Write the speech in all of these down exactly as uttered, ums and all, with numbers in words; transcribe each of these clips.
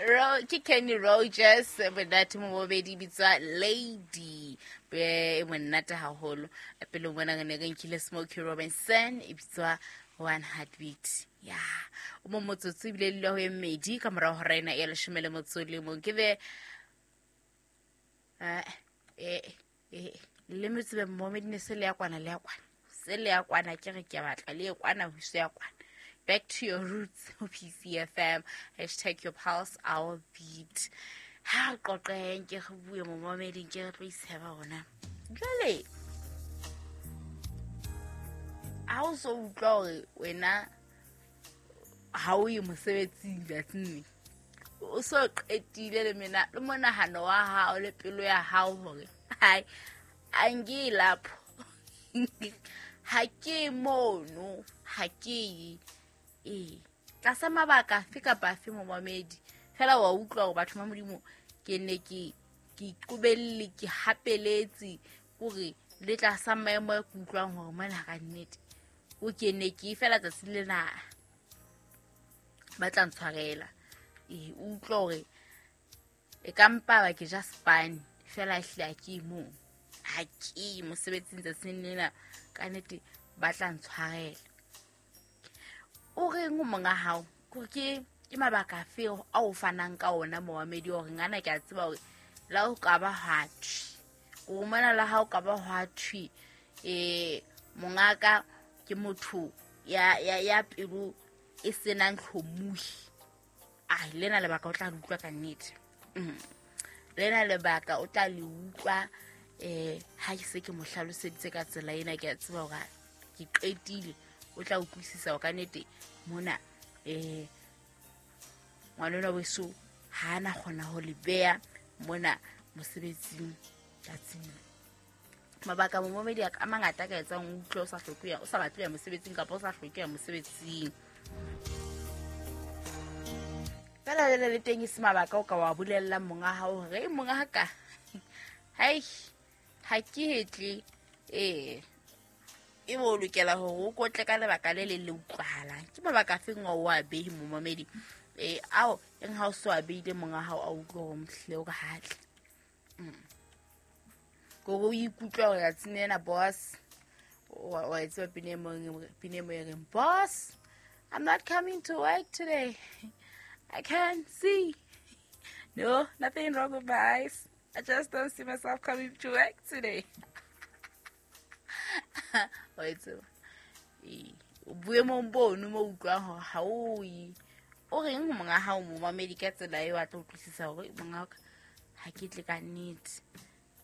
Ro ke Kenny Rogers monate momobedi bitswa Lady be monate haholo. Pele mona re ne re nkile Smokey Robinson e bitswa One Heartbeat. Ya o mo motsotso ebile le ho e mmedi ka morao hora ena ya leshome le motso le mong ke be eh eh eh le metsebe momedi ne se le ya kwana le ya kwana se le ya kwana ke re ke batla le kwana ho se ya kwana. Back to your roots, P C F M, hashtag your pulse, our beat. Ha qoqeng ke re bue momameding ke re tlo iseba hona. Jwale ha o so utlwa hore wena ha o ye mosebetsing tsatsing, o so qetile le mena le monahano wa hao le pelo ya hao hore hai a nke lapho ha ke mono ha ke e tlasa mabaka afe kapa afe momamedi fela wa utlwa hore batho ba Modimo ke ne ke ke iqobelle ke hapeletse hore le tlasa maemo a ke utlwang hore mona ka nnete o ke ne ke fela tsatsi lena ba tla ntshwarela. E utlwa hore e ka mpa ba ke ja spine fela ehle ha ke mo ha ke mosebetsing tsatsing lena ka nnete ba tla ntshwarela. O reng o monga hao ke ke ke mabaka afe a o fanang ka ona momamedi hore ngana ke a tseba hore la o ka ba ha thwi o mona la ha o ka ba ha thwi eh mongaka ke motho ya ya ya pelo e senang hlomuhi. Ah lena lebaka o tla le utlwa ka nnete. Lena lebaka o tla le utlwa eh ha ke se ke mo hlaloseditse ka tsela ena ke a tseba hore ke qetile o tla utlwisisa ka nnete mona eh ngwanona weso ha ana kgona ho le beya mona mosebetsing tsatsing. Mabaka momamedi a mangata ka etsang o utlwe o sa hloke ya o sa batle ya mosebetsing kapa o sa hloke ya mosebetsing. Fela le le teng e se mabaka o ka wa bolella monga hao hore monga ka hai ha ke hetle eh e bo lokela hore o kotle ka lebaka le le le utlwahalang. Ke mabaka afeng o wa behi momamedi eh ao eng ha o so a beile monga hao a utlwe hore mohle o ka hatle. Go o ikutlwa hore tsatsing lena boss wa e tseba pine mo pine mo e reng boss I'm not coming to work today, I can't see, no nothing wrong with my eyes, I just don't see myself coming to work today. Wa e tseba boemong bono mo utlwang hore ha o ye o reng ho monga hao momamedi ka tsela eo a tla utlwisisa hore monga ha ke tle ka nnete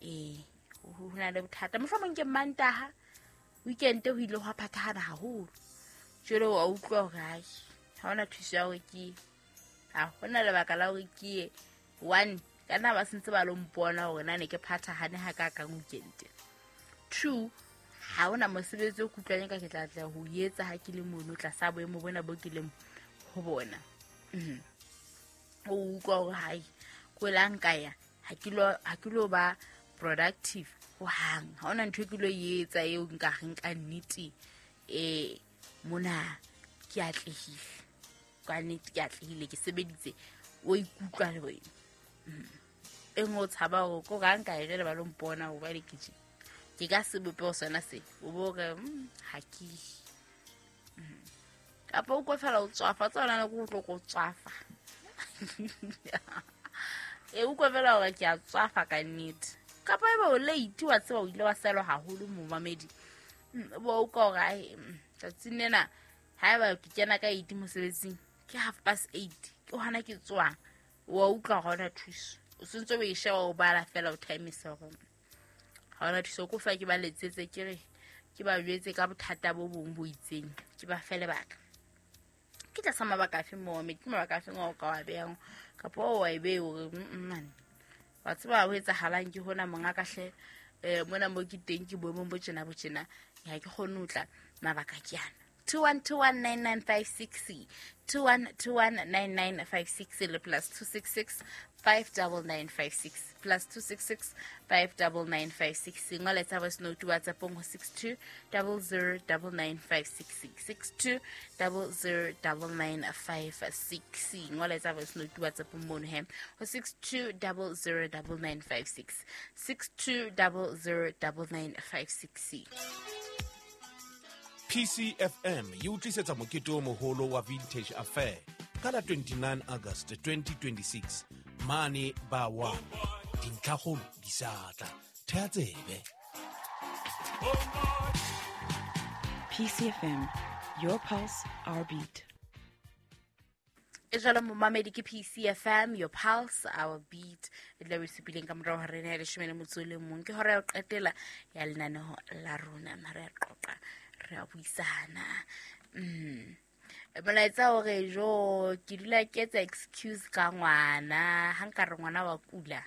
eh ho na le bothata mohlomong ke Mantaha weekend ho ile hwa phathahana haholo jwale wa utlwa hore hai ha hona thuso ya hore ke ha hona lebaka la hore ke one ka nna ba sentse ba lo mpona hore na ne ke phathahane ha ka kang weekend. Two ha hona mosebetsi o kutlwang ka ke tla tla ho etsa ha ke le mono tlasa boemo bona bo ke leng ho bona. O utlwa hore hai ko la nka ya ha ke lo ha ke lo ba productive ho hang ha hona ntho e ke lo etsa eo nka reng ka nnete eh mona ke atlehile ka nnete ke atlehile ke sebeditse o ikutlwa le wena e ngo tshaba hore ko ga nka e jele ba lo mpona ho ba le kitchen ke ka sebopeho sona se o bo re ha ke kapa o ko fela o tswafa tsona le go tlo go tswafa e o ko fela hore ke a tswafa ka nnete kapa e ba o late wa tseba o ile wa selwa haholo momamedi bo o ka hore ai tsatsing lena haeba ke kena ka eight mosebetsing ke half past eight ke hona ke tswang wa utlwa hona thuso o sentse o e sheba o bala fela o timesa hore ha hona thuso ko fa ke ba letsetse ke re ke ba jwetse ka bothata bo bong bo itseng ke ba fe lebaka ke tlasa mabaka afe momamedi ke mabaka afe o ka wa behang kapa o wa e behe hore man wa tseba ho etsahalang ke hona monga ka hle eh mona mo ke teng ke boemong bo tjena bo tjena ha ke kgone ho tla mabaka ke ana two one two one nine nine five six two one two one nine nine five six le plus two six six five double nine five six plus two six six five double nine five six. Ngola tsa voice note WhatsApp ho six two double zero double nine five six six six two double zero double nine five six. Ngola tsa voice note WhatsApp mono he ho six two double zero double nine five six six two double zero double nine five six. P C F M e o tlisetsa mokete o moholo wa Vintage Affair ka la twenty-nine August twenty twenty-six mane ba wa dintlhakgolo di sa tla. Thea tsebe. P C F M, your pulse, our beat. E jalo momamedi ke P C F M, your pulse, our beat. E tla re supileng ka morao hore rena ya leshome le motso o le mong. Ke hora ya ho qetela ya lenaneo la rona. Re a qoqa, re a buisana. Mm. Molaetsa hore jo ke dula ke etsa excuse ka ngwana, ha nka re ngwana wa kula.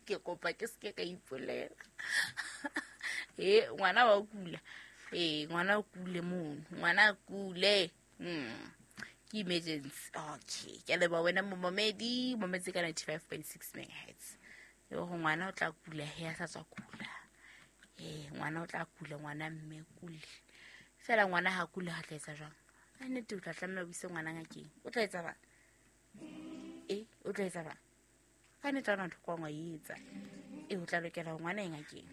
Ke kopa ke seke ka ipolela. Eh, ngwana wa kula. Eh, ngwana o kule mono. Ngwana kule. Mm. Ke emergency. Okay, ke leboha wena momamedi, mometse ka ninety-five point six megahertz. Le hore ngwana o tla kula he a sa tswa kula. Eh, ngwana o tla kula, ngwana mme kule. Fela ngwana ha kula ha tla etsa jwang? Ka nnete o tla tlameha o ise ngwana ngakeng. O tla etsa bang? Eh, o tla etsa bang? Ka nnete ha ona ntho kwa ngwa e etsa. Eh, o tla lokela hore ngwana e ngakeng.